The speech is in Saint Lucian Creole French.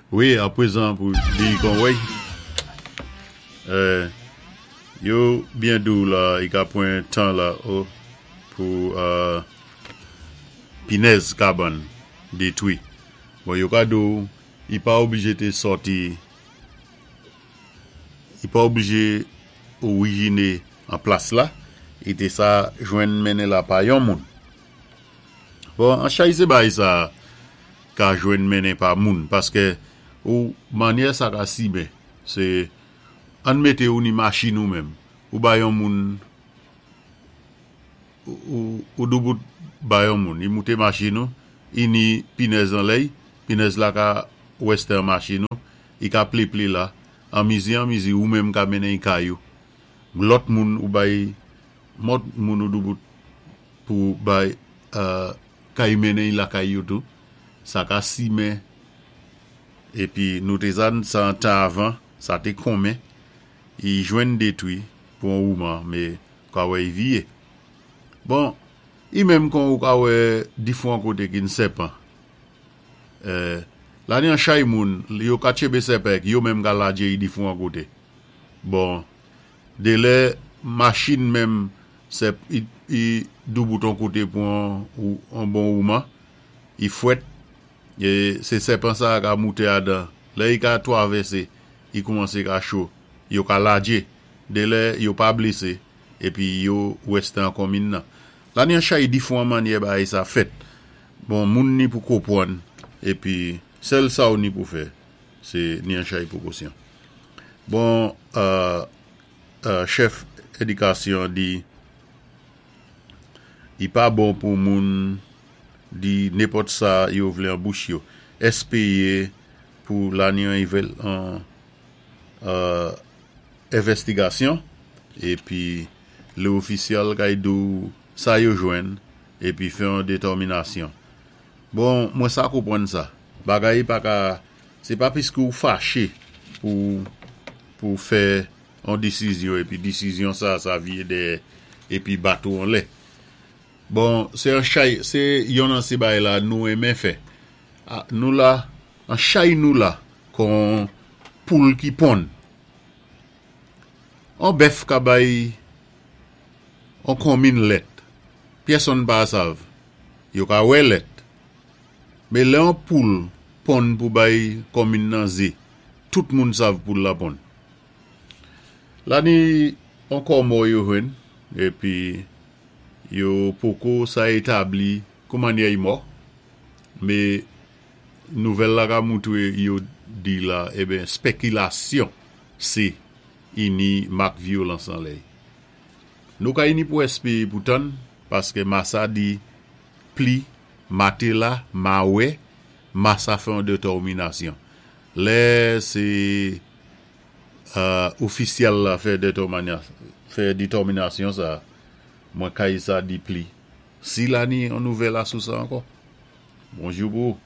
Wi, aprezan pou di kon wèy. Yo byen di w la i ka pran tan la o pou pinèz kabann detwi. Bon yo ka di w i pa oblije te sòti i pa oblije orijine an plas la, i te sa jwenn mennen la pa yon moun. Bon, an chay se bagay sa ka jwenn mennen pa moun paske ou manyè sa ka simen se ann mete ou ni machin ou menm ou bay yon moun ou doubout bay yon moun i moute machin ou i ni pinèz anlè i pinèz la ka wèstè an machin ou i ka pliple la an mizi an mizi ou menm ka mennen i kay ou lòt moun ou bay mòt moun ou doubout pou bay kay mennen i lakay yo tou sa ka simen epi nou te sa sa an tan avan sa te konmen i jwenn detwi pou on wouman me ou ka wè i viye bon i menm kon ou ka wè difwan kote ki n sèpan la ni an chay moun yo ka tchebe sèpan ek yo menm ka ladje i difwan kote bon delè machin menm sèp i doubout on kote pou on bon wouman i fwèt e se sèpan sa a ka moute adan lè i ka twavèse i koumanse ka cho yo ka ladje delè yo pa blese epi yo wèste an konmin nan la ni an chay difwan mannyè bagay sa fèt bon moun ni pou kopwann epi sèl sa ou ni pou fè se ni an chay pwokosyon bon chèf edikasyon di li pa bon pou moun di nenpòt sa yo vle an bouch yo. Espeye pou lani an envèstigasyon epi lè ofisyèl kay di w sa yo jwenn epi fè yon detèminasyon. Bon, mwen sa konprann sa. Bagay pa ka, se pa piske ou fache pou pou fè yon desizyon epi desizyon sa sa vye dèyè epi bat ou anlè. Bon, se an chay, se yon nan se bagay la nou renmen fè. Nou la, an chay nou la kon poul ki ponn. On bèf ka bay on konmin lèt, pyèsonn pa sav. Yo ka wè lèt. Men lè on poul ponn pou bay konmin nan ze, tout moun sav poul la ponn. La ni on kò mò yo jwenn, epi yo poko sa etabli koumannyè y mò, me nouvèl la ka moutre yo di la eben spèkilasyon se ini mak vyolans anlè. Nou ka ini pou espere pou tann, paske masa di pli, matela, ma wè, masa fè yon detòminasyon. Lè se ofisyèl la fè detòminasyon sa, mwen kay sa di pli. Si la ni yon nouvèl asou sa ankò. Bonjou pou ou.